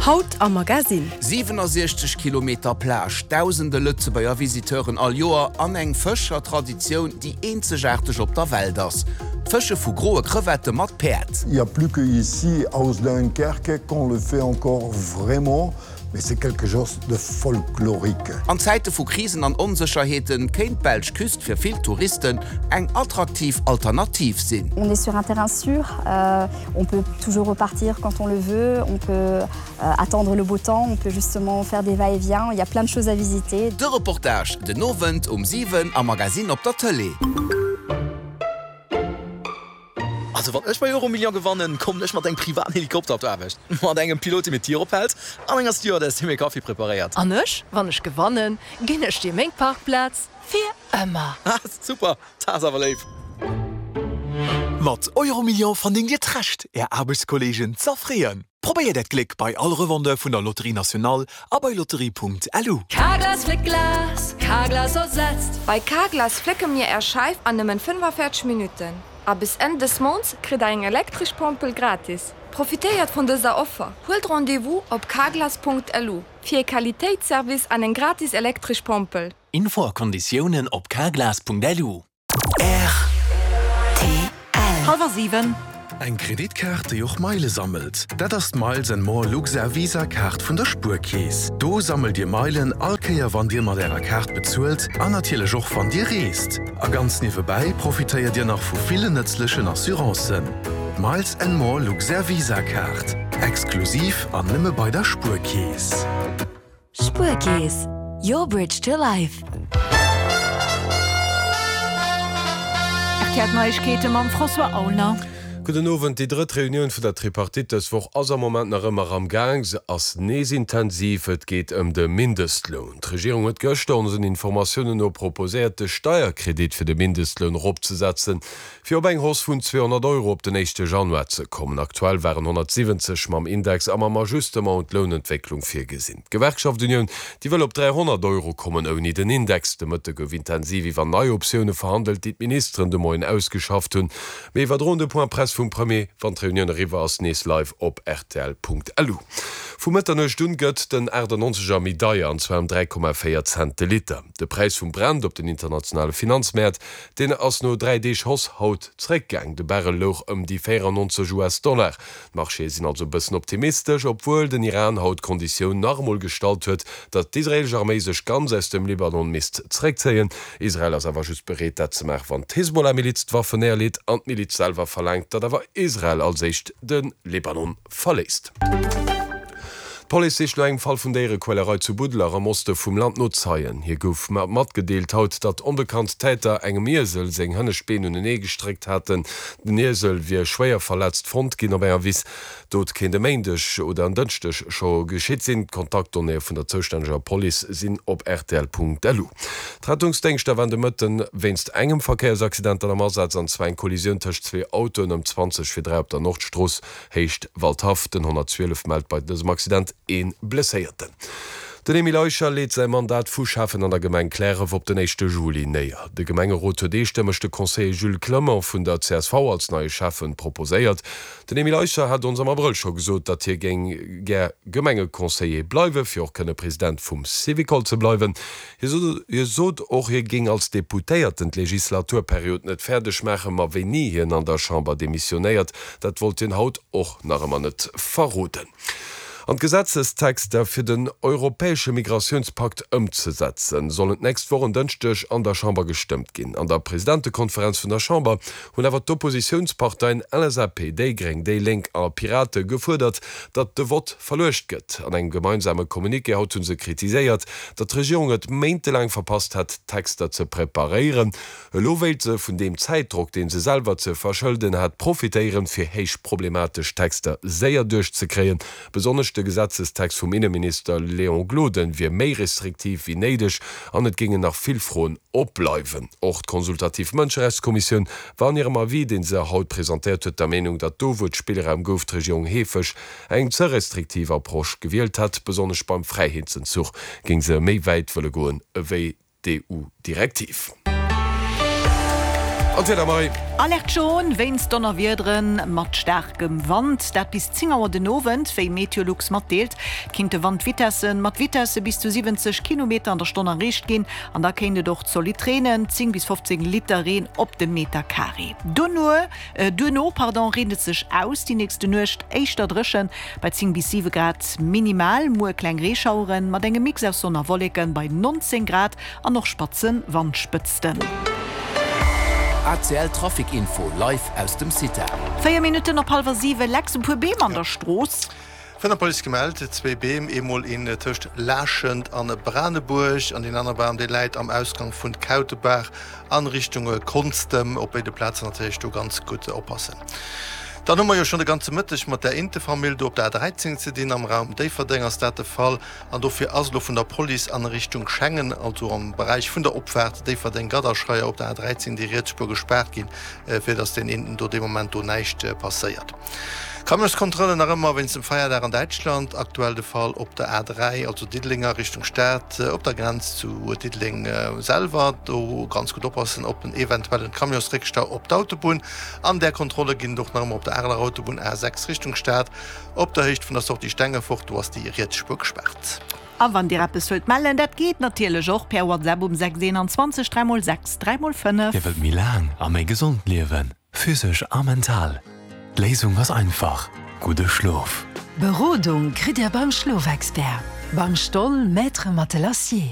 Haut am Magasinn. 67 Kilometer Plage, dausende Lëtzebuerger Visiteuren all Joer an eng Fëscher-Traditioun, déi eenzegaarteg op der Welt ass, d'Fësche vu groe Crevette mat Päerd. Il y a plus que ici aus Dunkerque qu'on le fait encore vraiment. Mais c'est quelque chose de folklorique. An Zäite vu Krisen an Onsécherheete kéint d'belsch Küst fir vill Touristen eng attraktiv Alternativ sinn. On est sur un terrain sûr, on peut toujours repartir quand on le veut, on peut attendre le beau temps, on peut justement faire des va-et-vient, il y a plein de choses à visiter. De Reportage den Owend um 7 am Magazine op der Tëlee. Also wann ech bei Euromillion gewannen, kommen ech mat engem privaten Helikopter op d'Aarbecht, mat engem Pilot dee mir d'Dier ophält an enger Stewardess déi mir Kaffi preparéiert. An ech, wann ech gewannen, ginn ech dir meng Parkplaz fir ëmmer. Ha super, dat ass awer léif. Mat Euromillion verdéngt Dir d'Recht, Är Aarbechtskolleegen z'erfreeën. Probéiert Äert Gléck bei all Revendeur vun der Loterie Nationale a bei lotterie.lu. Carglass fléckt Glas, Carglass ersetzt. Bei Carglass flécke mir Är Scheif an nëmmen 45 Minutten. A bis Enn dës Mounts kritt der eng elektresch Pompel gratis. Profitéiert vun dëser Offer! Huelt Rendez-vous op carglass.lu fir ee Qualitéitsservice an eng gratis elektresch Pompel. Info a Konditiounen op carglass.lu. Rtl. Hallwer 7. Eng Kreditkaart, déi och Meile sammelt, dat ass d'Miles and More Luxair Visa Kaart vun der Spuerkeess. Do sammelt Dir Meilen all Kéier wann Dir mat Ärer Kaart bezuelt an natierlech och wann Dir reest. A ganz niewebäi profitéiert Dir nach vu villen nëtzlechen Assurancen. D'Miles and More Luxair Visa Kaart, exklusiv an nëmme bei der Spuerkeess. Spuerkeess, your bridge to life. Rtl Neiegkeete mam François Aulner. Gudden Owend. Déi drëtt Reunioun vun der Tripartite dës Woch ass am Moment nach ëmmer am Gaang. Se ass nees intensiv. Et geet ëm de Mindestloun. D'Regierung huet gëschter onsen Informatiounen no proposéiert, de Steierkredit fir de Mindestloun eropzesetzen, Fir op eng Hausse vun 200 Euro op den éischte Januar ze kommen. Aktuell waren 170 mam Index a mam Ajustement un d'Lounentwécklung virgesinn. D'Gewerkschaft Unioun, déi wëll op 300 Euro kommen, ouni den Index. De Mëtte gouf intensiv iwwer nei Optioune verhandelt, déi d'Ministeren de Moien ausgeschafft hunn. Mir iwwerdroen de Point Presse vum Premier, wann d'Reunioun eriwwer ass, nees live op rtl.lu. Vu Mëtternuecht un gëtt den 98 er méi deier, an zwar ëm 3,4 Cent de Liter. De Präis vum Brent op den internationale Finanzmäert Deen ass no 3 Deeg Hausse haut zeréckgaang. De Barrel louch ëm déi 94 US-Dollar. D'Marchéë sinn also e bëssen optimistesch, obwuel den Iran haut d'Konditioun nach emol gestallt huet, datt d'israeelesch Arméi sech ganz aus dem Libanon misst zeréckzéien. Israel ass awer just bereet, dat ze maachen, wann d'Hezbollah-Miliz d'Waffen néierleet an d'Miliz selwer verlaangt, datt awer Israel als éischt de Libanon verléisst. D'Police sicht no engem Fall vun Déierequälerei zu Buddeler am Oste vum Land no Zeien. Hir gouf matgedeelt haut, datt onbekannt Täter engem Iesel seng hënnescht Been unenee gestréckt haten. Den Iesel wier schwéier verletzt fonnt ginn op enger Wiss. D'Dot kéint e Méindeg oder en Dënschdeg scho geschitt sinn. D'Kontaktdonnéeë vun der zoustänneger Police sinn op rtl.lu. D'Rettungsdéngschter waren de Mëtten wéinst engem Verkéiersaccident dann am Asaz, an zwar eng Kollisioun tëscht zwee Autoen ëm 20 vir 3 op der Nordstrooss. Héicht Waldhaff. Den 112 mellt bei dësem Accident ee Blesséierten. Den Emile Eicher leet säi Mandat vu Schäffen an der Gemeng Kläref op den éischte Juli néier. De Gemengerot huet eestëmmeg de Conseiller Jules Clement vun der csv als neie Schäffen proposéiert. Den Emile Eicher hat ons am Abrëll scho gesot, datt hie géing gär Gemengeconseiller bleiwen, fir och kënne President vum Syvicol ze bleiwen. Hie sot och, hie géing als Deputéierten d'Legislaturperiod net fäerdeg maachen, ma wéini hien an der Chamber demissionéiert, dat wollt hien haut och nach ëmmer net verroden. An d'Gesetzestexter fir den europäesche Migratiounspakt ëmzesetzen, sollen d'nächst Woch en Dënschdeg an der Chamber gestëmmt ginn. An der Presidentekonferenz vun der Chamber hunn awer d'Oppositiounsparteien LSAP, déi Gréng, déi Lénk a Pirate gefuerdert, datt de Vott verluecht gëtt. An engem gemeinsame Communiqué haut hu se kritiséiert, datt d'Regierung et méintelaang verpasst hätt, d'Texter ze preparéieren. Elo wéilt se vun deem Zäitdrock, dee se selwer ze verschëlden hat, profitéieren, fir héich problematesch Texter séier duerchzekréien. Besonnesch de Gesetzestext vum Inneminister Léon Gloden wier méi restriktiv wéi néideg an et géingen nach vill Froen opbleiwen. Och d'Consultativ Mënscherechtskommissioun war an hirem Avis, dee se haut presentéiert huet, der Meenung, datt do, wou et Spillraum gouf, d'Regierung heefeg eng ze restriktiv Approche gewielt hätt. Besonnesch beim Fräiheetsenzuch géing se méi wäit wëlle goen ewéi d'EU-Direktiv. An d'Wieder, Marie? Alerte jaune wéinst Donnerwiedere mat staarkem Wand, dat bis 10 Auer den Owend, wéi Meteolux matdeelt. Et kinnte Wandvitessen mat Vitesse bis zu 70 Kilometer an der Stonn erreecht ginn an da kéint et och zolidd reenen, 10 bis 15 Liter Reen op de Meter Carré. Duerno pardon, reent et sech aus, déi nächste Nuecht éischter dréchen bei 10 bis 7 Grad minimal. Muer kleng Reeschaueren mat engem Mix aus Sonn a Wolleken bei 19 Grad an och spatze Wandspëtzten. ACL Trafic Info live aus dem CITA. 4 Minutten op hallwer 7, Lex, e puer Beem an der Strooss. Vun der Police gemellt, zwéi Beem, eemol een tëscht Laaschent an Branebuerg an deen aner Bam dee läit am Ausgang vun Kautebaach an Richtung Konstem. Op béide Plazen natierlech do ganz gutt oppassen. Dann hu mer jo schonn de ganze Mëtteg mat där Intefamill do op der A13 ze dinn. Am Raum Déifferdeng ass dat de Fall an dofir ass elo vun der Police an Richtung Schengen, also am Beräich vun der Opfaart Déifferdeng-Gadderscheier op der A13 déi riets Spuer gespaart ginn, fir datt den Inten do dee Moment do näischt passéiert. Camionskontrollen nach ëmmer wéinst dem Feierdag an Däitschland. Aktuell de Fall op der A3, also Diddeleng a Richtung Stad, op der Grenz zu Diddeleng selwer. Do ganz gutt oppassen op en eventuellen Camionsréckstau op d'Autobunn. An där Kontrolle ginn et och nach ëmmer op der Areler Autobunn A6 Richtung Stad, op der Héicht vun der Sortie Stengefort. Do ass déi riets Spuer gespaart. A wann Dir eppes wëllt mellen, dat geet natierlech och per WhatsApp um 6 21 3 x 6 3 x 5. Dir wëllt méi laang a méi gesond liewen? Physesch a mental. D'Léisung ass einfach, gudde Schlof. Berodung kritt Dir beim Schlofexpert, beim Stoll Maître Matelassier.